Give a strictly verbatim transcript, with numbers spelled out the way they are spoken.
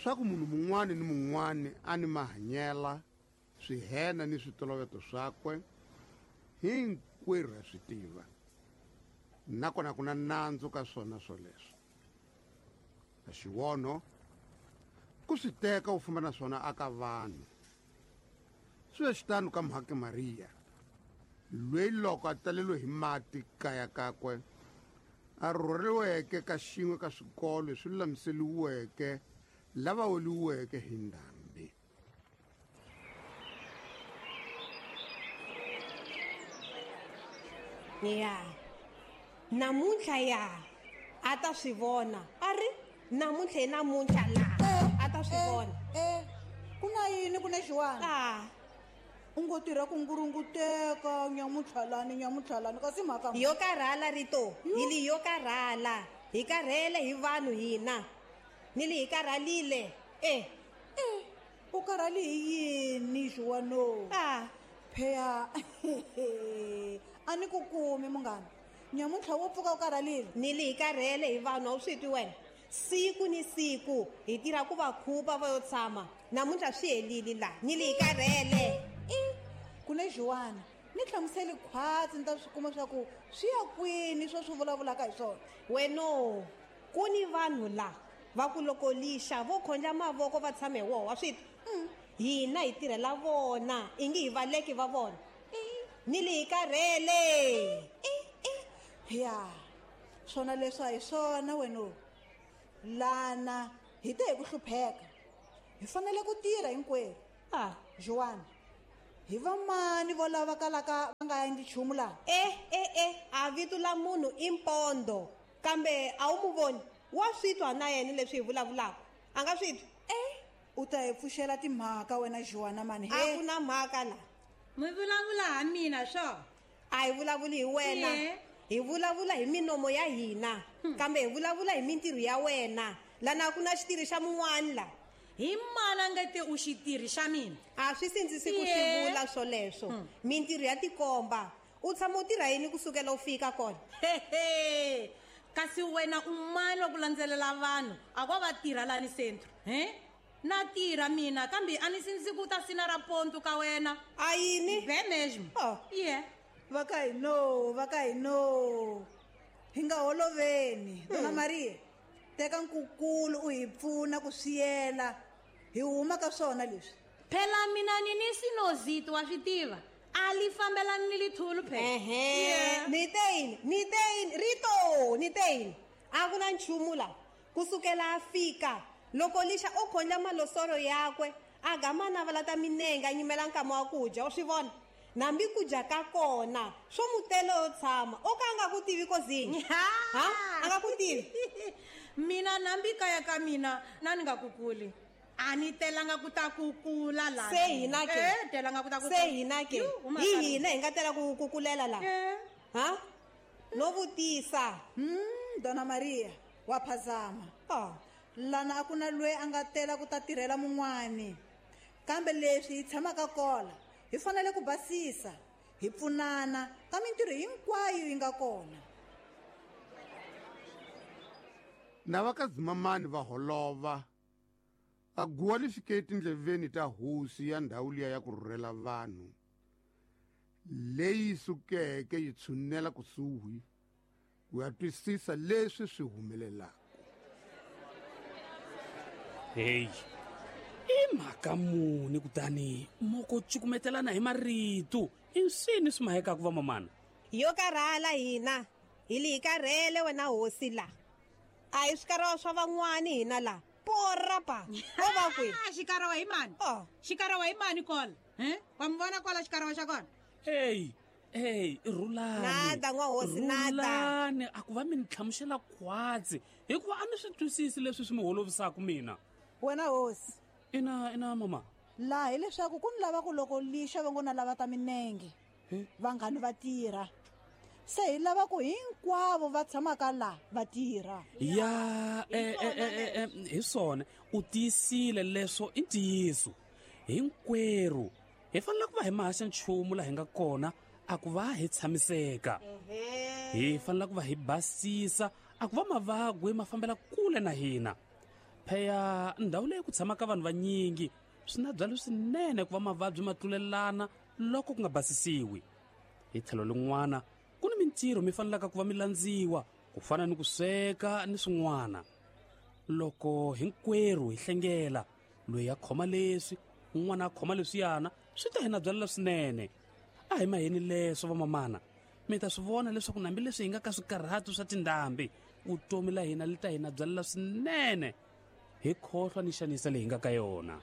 Swa ku munhu mun'wani ni mun'wani a ni mahanyela swihena ni switoloveto swakwe hinkwerhu ha swi tiva. Nakona ku na nandzu ka swona swoleswo. A xivono ku swi teka u famba na swona aka vanhu. Swi ve xitano ka Mhake Maria, loyi loko a taleriwe hi mati kaya kakwe a rhurheriweke ka xin'we ka swikolo leswi lulamiseriweke lava weliweke hi ndhambi. Ya namuntlha ya a ta swi vona a ri namuntlha hi namuntlha la a ta swi vona. Eh, ku na yini ku na xiwana? Ah, u ngo tirha ku ngurunguteka nyamuntlhalani nyamuntlhalani kasi mhaka yo karhala rito hi li yo karhala hi karhele hi vanhu hina ni li hi karhalile. Eh, eh u karhali hi yini xiwano? Ah, pheya a ni ku kumi munghana nyamuntlha wo pfuka u karhalile. Ni li hi karhele hi vanhu a wu swi twi wena. Siku ni siku hi tirha ku va khupa va yo tshama namuntlha swi helile la ni li hi karhele. Ku na xiwana ni hlamuseli khwatsi ni ta swi kuma swa ku swi ya kwini swo swi vulavulaka hi swona. Weno ku ni vanhu la va ku loko lixa vo khondla mavoko va tshame hi woho wa swi twa. Hina hi tirhela vona ingi hi valeki va vona ni li hi karhele. Ya swona leswi a hi swona weno. Lana hi te hi ku hlupheka hi fanele ku tirha hinkwerhu. Ah, Joana hi vamani vo lava kalaka va nga endli nchumu laha? Eh eh eh a vito la munhu i Mpondo kambe a wu mu voni wa swi twa na yena leswi hi vulavulaka a nga swi twi. Eh, u ta hi pfuxela timhaka wena Joana mani. A ku na mhaka la mi vulavula ha mina swo? A hi vulavuli hi wena, hi vulavula hi minomo ya hina kambe hi vulavula hi mintirho ya wena. Lana ku na xitirhi xa mun'wani la. Hi mana nga te u xitirhi xa mina? A swi sindzisi ku swi vula swoleswo. Mintirho ya tikomba. U tshama u tirha yini kusukela u fika kona? Hehe kasi wena u mani wa ku landzelela vanhu a ko va tirha lani centro he? Na tirha mina kambe a ni sindzisi ku ta sina ra ponto ka wena. A yini? Be mesmo. Oh. Yeah. Va ka hi no, va ka hi no. Hi nga holoveni. Dona Maria, teka nkukulu u hi pfuna ku swiyela. Hi huma ka swona leswi. Phela mina ni ni sinozito wa swi tiva. A li fambelani ni lithulu phela. Ehe. Ni te yini? Ni te yini? Rito, ni te yini? A ku na nchumu la. Kusukela a fika loko lixa o khondla malosoro yakwe a gama na vala ta minenge a nyimela nkama wa ku dya u swi vona. Nambi ku dya ka kona swo mutelo yo tshama o ka a nga ku tivi kozini. Ha? A nga ku tivi. Mina nambi kaya ka mina na ni nga kukuli. A ni telanga ku ta kukula la. Se hina ke. Eh, telanga ku ta kukula. Se hina ke. Hi hina hi nga tela ku kukulela la. Ha? No vutisa. Hmm, Dona Maria wa phazama. Ah. Lana a ku na loyi a nga tela ku ta tirhela mun'wani. Kambe leswi hi tshamaka kona hi fanele ku basisa, hi pfunana ka mintirho hinkwayo yi nga kona. Na va ka Zimamani va holova a guwa li fike etindleveni ta hosi ya ndhawu liya ya ku rhurhela vanhu leyi sukeke yi tshunela kusuhi ku ya twisisa leswi swi humelelaka. Hey, i mhaka muni kutani moko cukumetelana hi marito i swini swi mahekaka va mamana? Yo karhala hina hi li hi karhele wena hosi la. A hi swikarawa swa van'wani hina la. Porra pa o va kwihi? Xikarawa hi mani? Oh. Xikarawa hi mani kola? He? Wa mi vona kwala xikarawa xa kona? Hey, hey, rhulani. Nada n'wa hosi, nada. Rhulani, a ku va mi ni hlamusela khwatsi hikuva a ni swi twisisi leswi swi mi holovisaka mina. Wena hosi. Ina, ina mama. Laha hileswaku ku ni lava ku loko lixa va ngo na lava ta minenge vanghani va tirha. Se hi lava ku hinkwavo va tshamaka la va tirha. Ya, eh, eh, eh, eh, hi swona u tiyisile leswo i ntiyiso. Hinkwerhu hi fanele ku va hi mahaxa nchumu laha hi nga kona a ku va hi tshamiseka. Hi fanele ku va hi basisa a ku va mavagwe ma fambela kule na hina. Pheya ndhawu leyi ku tshamaka vanhu vanyingi swi na byalo swinene ku va mavabyi ma tlulelana loko ku nga basisiwi. Hi tlhelo lin'wana ku ni mintirho mi fanelaka ku va mi landziwa ku fana ni ku sweka ni swin'wana. Loko hinkwerhu hi hlengela, loyi a khoma leswi un'wana a khoma leswiyana, swi ta hi na byalela swinene. A hi maheni leswo vamamana, mi ta swi vona leswaku hambileswi hi nga ka swikarhatu swa tindhambi, vutomi la hina li ta hi na byalela swinene. Hi khohlwa ni xanisa leyi hi nga ka yona.